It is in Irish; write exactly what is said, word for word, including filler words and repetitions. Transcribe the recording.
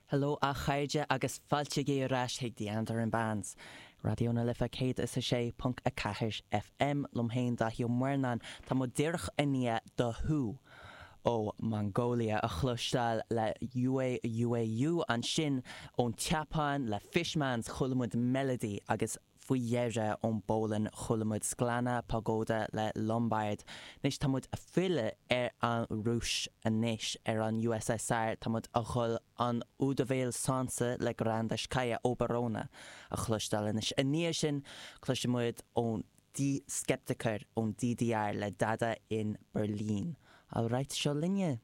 Hello a chairde agus fáilte ar ais chuig The Andaran Bands. Raidió na Life céad is a sé ponc a ceathair FM liom féin Daithí Ó Murnáin tá muid díreach i ndiaidh The Hu ó Mongolia a chloisteáil le UA UAU ansin ón tSeapáin le Fishmans chuala muid Melody agus faoi dheireadh ón bPolainn chuala muid Szklana Pogoda le Lombard. Anois tá muid ag filleadh ar an Rúis anois ar an USSR tá muid ag dul an Udovil Solntse le Grandashkaya Oborona a chloisteáil anois. I ndiaidh sin cloisfidh muid ón Die Skeptiker ón DDR le Dada in Berlin. Alright seo linne.